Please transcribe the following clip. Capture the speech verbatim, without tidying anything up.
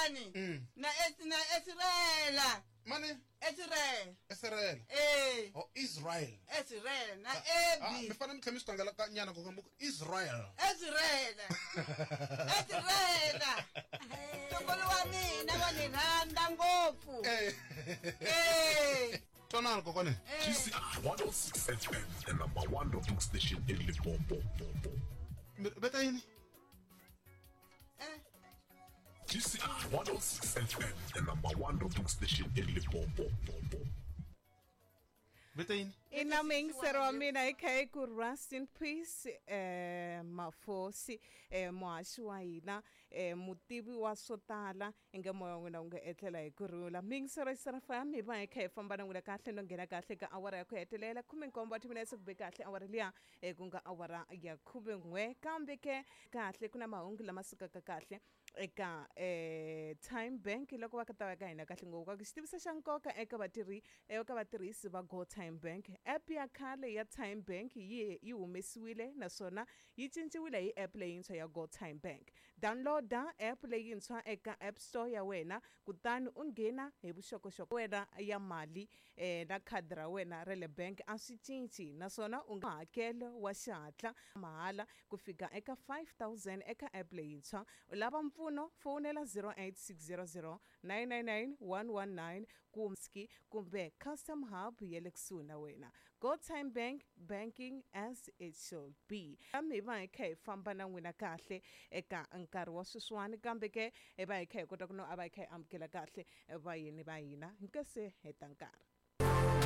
Sweswiwani na Es- na Esirela. Mani? Esirela. Israel. Eh. Oh, Israel. Esirela na Ah, Ebi. mi fanele mi tlhela mi swi tlangela ka nyana ku ku Israel. Esirela. Esirela. Ntukulu wa mina wa ni rhandza ngopfu. Eh. Eh. Twanani kokwane. Eh. G C I one oh six F M, the number one rocking station in Limpopo. Mi veta yini? Eh. G C I one oh six F M, the number one rocking station in Limpopo. Veta yini? Ina muyingiseri wa mina hi kha hi ku rest in peace eh Mafosi eh muhaxi wa hina eh mutivi wa swo tala inge moya wa n'wina wu nga etlela hi kurhula. Muyingiseri wa Sarafa mi va hi kha hi famba na n'wina kahle no nghena kahle ka awara ya ku hetelela khume nkombo wa timinetse ku be kahle awara liya eh ku nga awara ya khume n'we kambe ke kahle ku na mahungu lama sukaka kahle eka eh Time Bank loko va ka ta va ka hina kahle ngopfu ka xitiviso xa nkoka eka vatirhi eka vatirhisi va Go Time Bank. App ya khale ya Time Bank yi yi humesiwile naswona yi cinciwile hi app leyintshwa ya Go Time Bank. Downloada app leyintshwa eka App Store ya wena kutani u nghena hi vuxokoxoko wena ya mali eh, na khadi ra wena ra le bank a swi cinci naswona u nga hakelo wa xihatla mahala ku fika eka five thousand eka app leyintshwa. U lava mpfuno fonela zero eight six zero zero nine nine nine one one nine kumbe kumbe Custom Hub ya le kusuhi na wena. Go Time Bank, banking as it should be. Kambe hi va hi kha hi famba na n'wina kahle eka nkarhi wa sweswiwani kambe ke hi va hi kha hi kota ku no a va hi kha hi amukela kahle vayeni va hina hi nga se heta nkarhi.